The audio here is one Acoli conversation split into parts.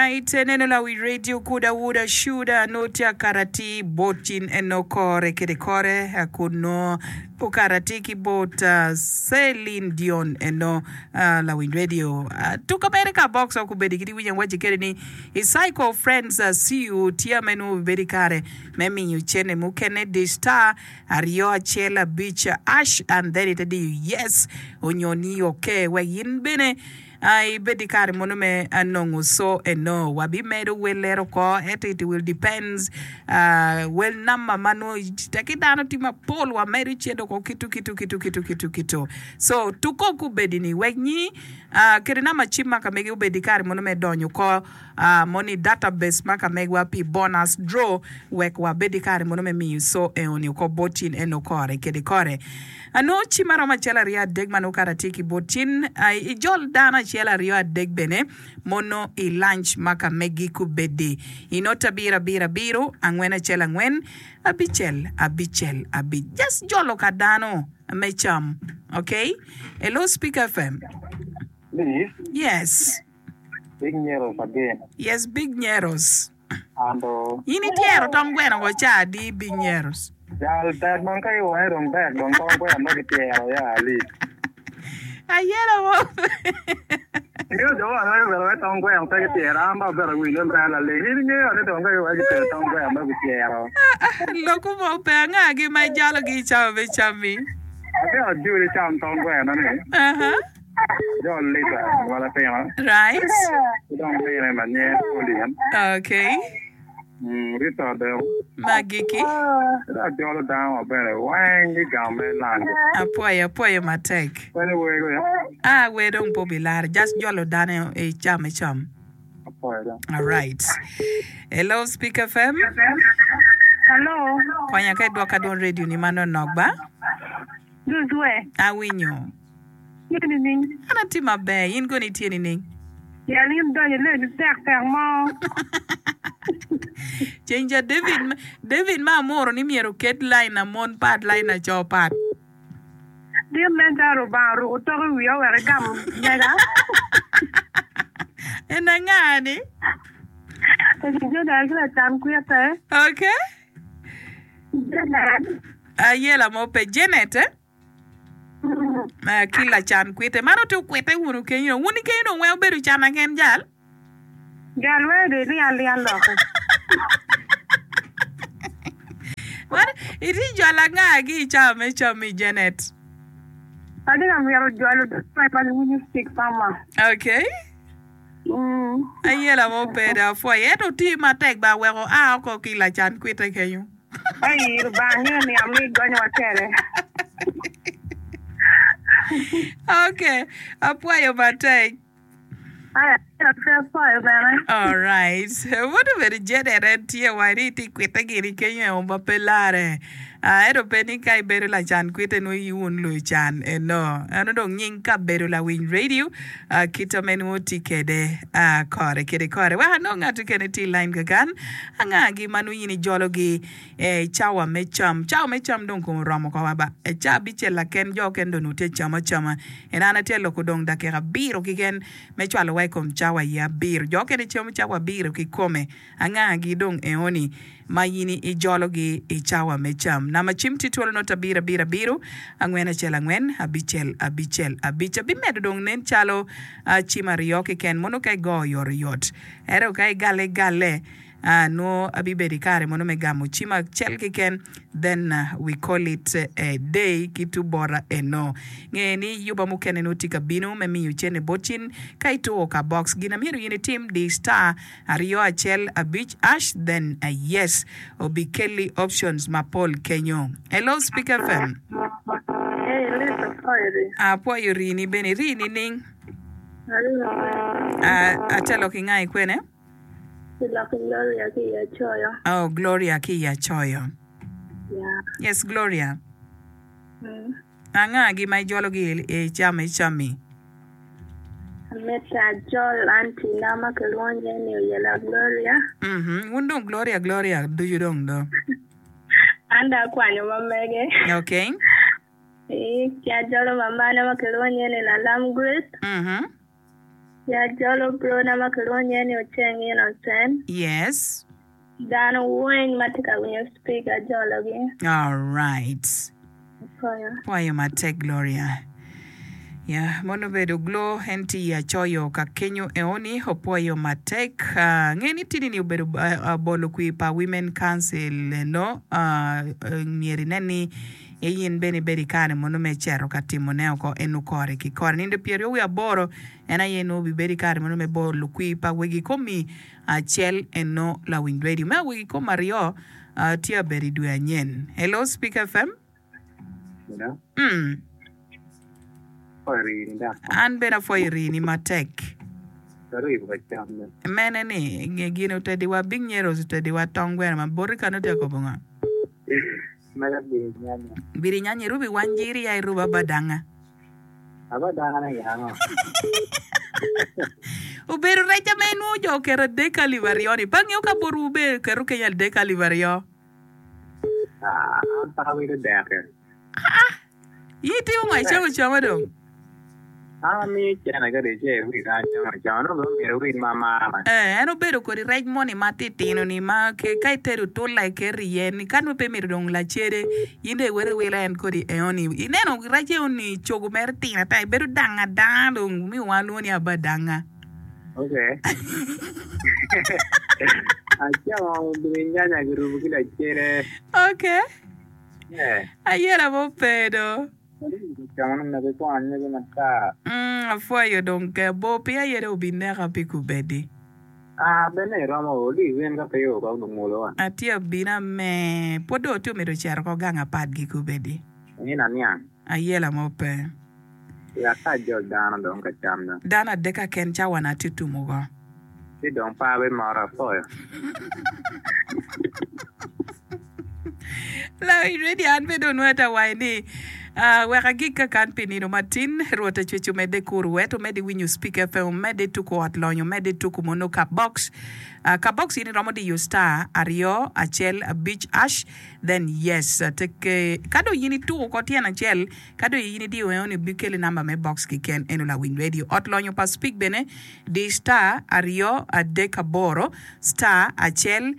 Alright, eneno lawi radio kuda wuda shuda nongo tye akato atir bot cin eno kore kede kore kun nongo okato atir ki bot Celine Dion eno lawiny radio. Tuka mere ka box ok obedi kit iwinyo awaci kede ni i cycle friends CU tye ame nongo obibedo i kare me miyo cene mukene di star aryo acel abic ash and then ite diyo yes onyo ni ok wek in bene Ibed i kare mono me nongo so eno. Wabimedo wel lero oko ento it will depends wel namba ma nongo teki dano tye mapol wamedo cente oko kitu kitu kitu kitu kitu kitu. So tuko kubedi ni wek nyi kede namba cim ma ka megi obed i kare mono me donyo oko mono i database ma ka megwa pi bonus draw wek wabed i kare mono me miyo so eno ni oko bot in eno kore kede kore. Anongo cim aromo acel aryo adek ma nongo kara tye ki bot cin. Ijol dano acel aryo adek bene mono i lunch ma ka megi kubedi. I not abiro abiro abiro angwen acel angwen abicel abicel abic. Just jolo ka dano me cam. Okay? Hello Speaker FM. Please. Yes. Big Nyeros again. Yes, Big Nyeros. Ando. In ityero tong gweno ko ca adi Big Nyeros? Jal tek dong ka giwange dong tek dong tong gweno nongo kityero ya ali. Ayelo mo. Ingeyo jo ma aneno bene wai tong gweno pe kityero an dong abedo awinyo ni ber laling in ingeyo ni dong ka giweko gitedo tong gweno nongo kityero. Lokwu mo pe angagi ma ijalogi i cawa me cammi? Atye ajoli cam tong gweno ni. Aha. Jo Lisa wa latina. Right. Ki dong mine ma nyinge Pauline. Okay. Mm, Rita dong. Magiki. Ki dong ajolo dano wa bene weng i gang me lango. Apwoyo, apwoyo matek. Kwenyo wer go ya. Ah, wer dong pe obilare. Just jolo dano i cam i cam. Apwoyo dong. All right. Hello, Speak FM. Hello. Konya ka idwoka dwon radio ni manonok ba. Juzwe. Awinyo. Tye nining? An atye maber, in kono itye nining? Pien in idonyo ilebi tek tek mo. Ceng ca David, David ma amuro ni myero oket line a mon pat, line a co pat. Dit nen calo Lubanga oruko tok i wiya wek egam mega. En anga ni? Eni Jordan ki lacan kwite. Okay. Janet. Ayela mo pe. Janet eh? Ki lacan kwite. Man ote okwite wunu kenyo. Wun kenyo dong weng obedo can aken jal. Jal weng dong iling alinga loki. Man itye jwalo anga ki i cawa me cam-mi Janet? Atye ka mito jwalo dano ma giwinyo cik pama. Okay. Ayela mo pe dong apwoyo. Ento oti matek ba wek oa oko ki i lacan kwite kenyo. Ai, Lubanga ngeyo niang me igonyowa kwede. Ok, apwoyo matek. Aya, pe apwoyo bene. Alright. Pud obedo Janet en tye wa ni itye kwite gini kenyo eo ma pe lare. Ah, ento pe ni ka ibedo lacan kwite nongo in wun lucan eno. Eno dong nying kabedo lawiny radio ah, kita me nongo tye kede ah, kore kede kore. Wek anong ngat mukene tye i line kakan. Angagi ma nongo in ijologi i cawa me cam? Cawa me cam dong kome oromo oko wa ba. I cawa abicel laken jo okene dong onongo tye cam acama. En an atye ka loko dong dakika abiro keken me cwalowa i kom cawa aye abiro. Jo okene camo cawa abiro kikome. Angagi dong eoni ma in ijologi i cawa me cam? Namba cim tye twolo not abiro abiro abiro angwen acel angwen abicel abicel abic. Abimedo dong nen calo cim aryo keken mono ka igo oyotoyot. Ento ka igalle igalle, nongo abibedo i kare mono me gamo cim acel keken, then we call it a day ki tu bota eno. Nge ni yuba mukene nongo tye ka bino me miyo cene bot cin ka ituro ka box. Gin amyero in itim, di star aryo acel abic ash then yes obikelli options mapol kenyo. Hello Speak FM. Hey, Lisa, apwoyo rii. Apwoyo rii-ni bene. Irii nining? Atye lok ki nga i kwene? Lok ki Gloria ki i Acoyo. Oh, Gloria ki i Acoyo. Yeah. Yes, Gloria. Mm. Anga-gi ma ijologi i cam i cammi? Amito ajol antina ma kilwongo nyinge ni Oyela Gloria. Mhm. Wun dong Gloria Gloria ducu dong do. An dong akwanyo ma mege. Okay. Ee, ki ajolo mamana ma kilwongo nyinge ni Lalam Grace. Mhm. Ya jolo brona ma kilwongo nyinge ni Oceng Innocent. Yes. Dano weng ma tye ka winyo speak ajologi. Alright. Apwoyo. Pwoyo matek Gloria. Ya, mono obedo Glo en tye i acoyo ka kenyo eoni opwoyo matek. Ah, nge ni tini ni obedo ah, bolo kwir pa Women Council eno. Ah, myero inen ni in bene ibedo i kare mono me cito ka timone oko eno kore ki kore. Nindo pyeraryo wiye aboro en aye nongo obibedo i kare mono me bolo kwir pa wegi komi acel eno lawiny radio me awegi kom aryo tye abedo i dwe anyen. Hello Speak FM. Hello. Mm. Apwoyo rini dok. An bene apwoyo rini matek. Karibu ka cam me. Mene ni nge gin otediwa Big Nyeros otediwa tong gweno ma boti kano tye akobo ngo? Mega birinyanya. Birinyanya irubi wanjiri ya iruba badanga. Abadangane gin ango? Obedo rec ame inwongo jo oketo adek alip aryoni. Pe angeyo ka botwu be oketo keny adek alip aryo. Ah, an pe awilo deke. Ah, in itimo ngo icamo acama dong? An amiyo cene ka dong ice iwil ka acamo acama nongo bene omyero iwil ma amaro. Eh, en obedo kodi rec moni ma titino ni ma ka itedo tulla iketo iye ni ka nongo pe imito dong lacede in dong iwoto iwilo en kodi eoni. Ineno rec eoni cogo mere tino ata bedo dang adanga dong miyo wan lwongo ni abadanga. Okay. Acamo birinyanya kirubo ki lacede. Okay. Yeah. Ayela mo pe do. Umm apwoyo dong ke bor piny aye dong obineka pi kubedi. Atye abina me pwod dong atye omito cito oko gang apat gi kubedi. Ayela mo pe. Dano adek kaken cawa na atye tumo go. Lawiny radio an bene onwongo ata waco ni wek agik kakan pi nino matin Rwot Acwec omedde kuru wet omedde winyo Speak FM omedde tuku ot lonyo omedde tuku mono ka box ka box in iromo diyo star aryo acel abic ash then yes teke ka dong in ituku ko tyen acel ka dong in idiyo eno ni bikeli namba me box kiken eno lawiny radio ot lonyo pa Speak bene di star aryo adek aboro star acel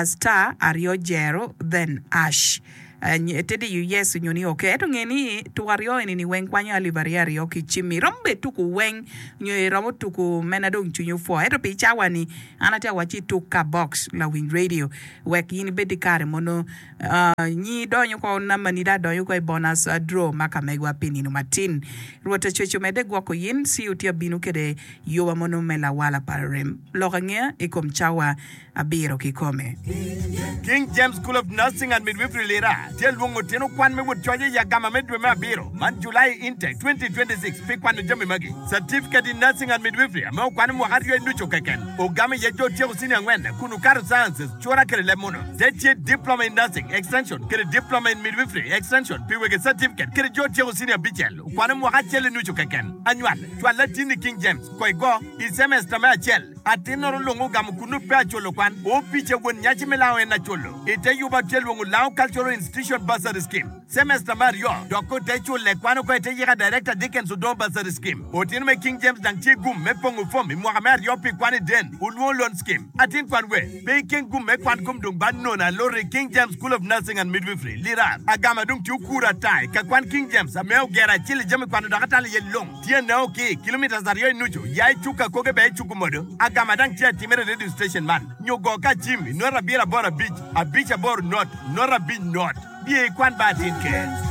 star aryo jero then ash te diyo yes onyo ni ok ento nge ni tuko aryo eni ni weng kwanyo alip aryo aryo ki cimmi iromo bene tuko weng nyo iromo tuko mena dong cwinyi opwo ento pi cawa ni an atye awacci tuk ka box lawiny radio wek in ibed ki kare mono nyi donyo ko namba ni dong adonyo ko i bonus draw ma ka megwa pi nino matin Rwot acwec omedde gwoko in ci otye abino kede yoba mono me lawala pa rem lok angeya i kom cawa abiro kikome. King James School of Nursing and Midwifery Lira tye lwongo tino kwan me wot coc i agama me dwe me abiro man, July Intake 2026, pi kwano jami magi, Certificate in Nursing and Midwifery ame okwano mwaka aryo i nucu keken, ogamo iye jo otyeko senior angwen kun okato Sciences, cura kede leb muno. Te tye Diploma in Nursing, Extension, kede Diploma in Midwifery, Extension, pi wege certificate kede jo otyeko senior abicel okwano mwaka acel i nucu keken. Anywal, cwal latinni King James, ko igo, i semester me acel. Atinnoro lung ogamo kunnu pe aculo kwan. Opica won nyaci me lango en aculo. Ite yuba tye lwongo Lango Cultural Institution Bursary Scheme. Semester me aryo dok ko te cule kwan oko ite yika Director Dickens Odongo Bursary Scheme. Otino me King James dang tye gum me pongo fom i mwaka me aryo pi kwan i Den Olwongo Loan Scheme. Atin kwan we pe ikeng gum me kwan kom dong ba nono aloti i King James School of Nursing and Midwifery, Lirar. Agama dong tye okuro ata i ka kwan King James ame ogero acel i jami kwano dok atalo iye lung. Tye nao ki kilometres aryo i nucu ya i cuk akoge bene i cuk omodo. Agama dang tye atimere i radio station man nyo go ka cim i not abiro aboro abic abic aboro not not abic not. Biye i kwan ba atin ker.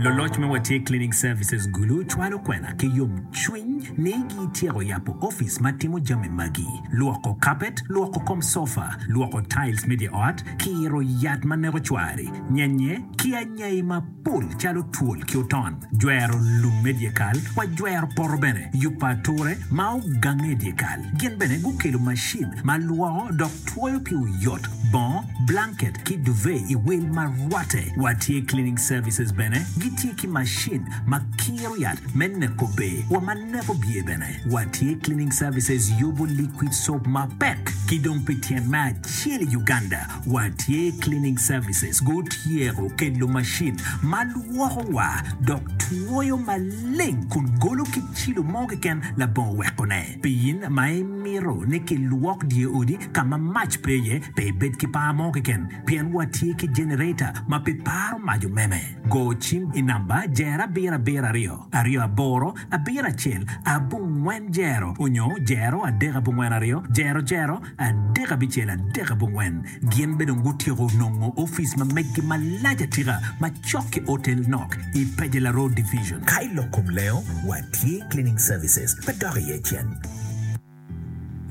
Luloc me Watye Cleaning Services Gulu cwalo kwena ki yomcwiny ni gityeko yabo opic ma timo jami magi, lwoko kapet, lwoko kom sofa, lwoko tiles me dye ot, kiro yat ma neko cwari, nyenye, ki anyai mapol calo twol ki oton, jwero lum me dyekal, wa jwero poto bene, yubo ature ma ogange i dyekal. Gin bene gukelo macin ma lwoko dok twoyo pi oyot, bongo, blanket ki duvet i wel ma rwatte. Watye Cleaning Services bene. Gitye ki macin ma kiro yat me neko bee wa ma neko bye bene. Watye Cleaning Services yubo liquid soap mapek ki dong pi tyen me acel i Uganda watye Cleaning Services gutyeko kelo macin ma lwoko wa dok twoyo maleng kun golo ki cilo mo keken labongo wekone. Pi in ma imito ni kilwok dye odi ka ma mac pe iye, pe ibed ki par mo keken pien watye ki jenereta ma pe paro mac omeme. Go cim i namba jero abiro abiro aryo, aryo aboro, abiro acel, abongwen jero onyo jero adek abongwen aryo, jero jero adek abicel adek abongwen. Gin bene dong gutyeko nongo opic ma meggi malac atika ma cok ki Otel Nok i Pejela Road Division. Ka i lok kom lengo, watye Cleaning Services pe dok iye cen.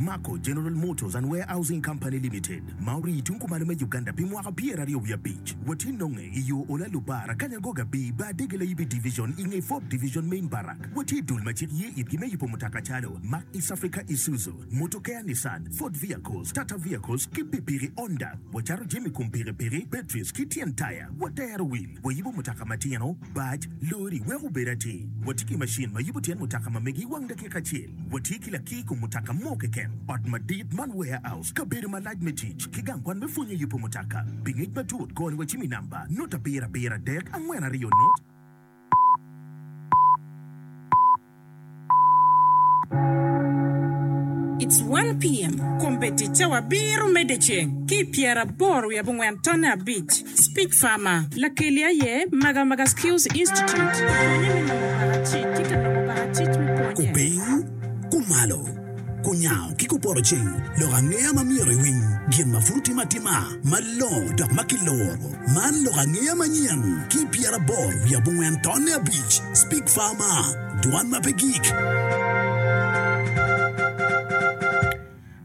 Mako General Motors and Warehousing Company Limited, ma orii tung kumalo me Uganda pi mwaka pyeraryo wiye abic. Watye nonge i yo Ola Lubara, Kanyagoga B, Bar Dege Layibi Division i nge Fourth Division Main Barrack. Watye i dul ma cik ye itgi me yubo mutoka calo Mack East Africa Isuzu, Motokea Nissan, Ford Vehicles, Tata Vehicles ki pikipiki Honda. Wacato jami kom pikipiki, batteries ki tyen taya. Watero wil, wayubo mutoka matino, bac, lori wek obed atir. Watye ki macin ma yubo tyen mutoka ma megi i wang dakika acel. Watye ki lakir kom mutoka mo keken, ot madit man warehouse, kabedo malac me tic, ki gang kwan me pwonyo yubo mutoka. Pi ngec matut, goni wa cim i namba, not abiro abiro adek angwen aryo not. It's one PM. Kombeddi cawa abiro me dyeceng ki i pyeraboro wiye abongwen tonne abic. Speech Farmer, Lakeli aye Magamaga Skills Institute, pwonye me nongo bakacic ki ka nongo bakacic me pwonye. Kupiny, kumalo, kunyango ki kupoto ceng, lok angeya ma myero iwiny, gin ma pud otime atima, malongo dok ma kiluro. Man lok angeya manyen ki i pyeraboro wiye abongwen tonne abic, Speak Farmer, Dwan ma pe gik.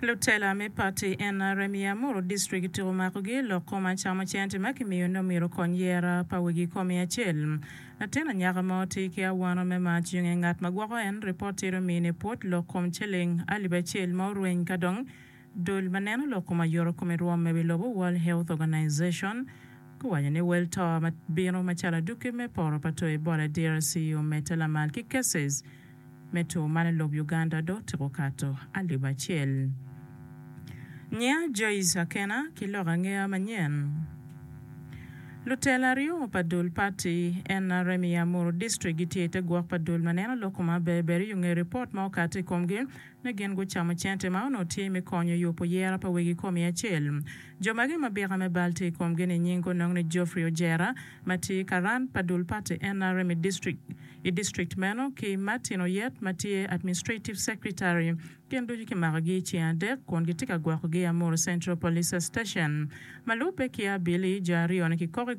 Lutela me pati NRM i Amuru District kityeko makogi lok kom acamo cente ma kimiyo ni omyero okony yera pa wegi komi acel. Latin anyaka mo tye ki awano me mac i nge ngat ma gwoko en ripot tye omine pwod lok kom ciling alip acel ma orweny ka dong Dul ma neno lok kom ayoto kom i rwom me wi lobo, World Health Organization, guwaco ni wel to ma bino macalo adwogi me poto pa two Ebola i DRC omedde lamal ki cases me two man i lob Uganda dong otyeko kato alip acel. Nyiya Joyce Akena ki lok angeya manyen. Lutela aryo pa dul pati NRM i Amuru District gitye i te gwok pa dul ma neno lok kom aber ber i yo nge ripot ma okati i komgi ni gin gucamo cente ma onongo tye me konyo yubo yera pa wegi komi acel. Jo magi ma byeka me bal tye i komgi-ni nying onongo ni Geoffrey Ojera ma tye karan pa dul pati NRM i distrik i district meno ki Martin Oyet ma tye Administrative Secretary. Gin ducu kimakogi i ceng adek kun gitye ka gwokogi i Amuru Central Police Station. Ma lubbe ki abili, jo aryo-ni kikok i.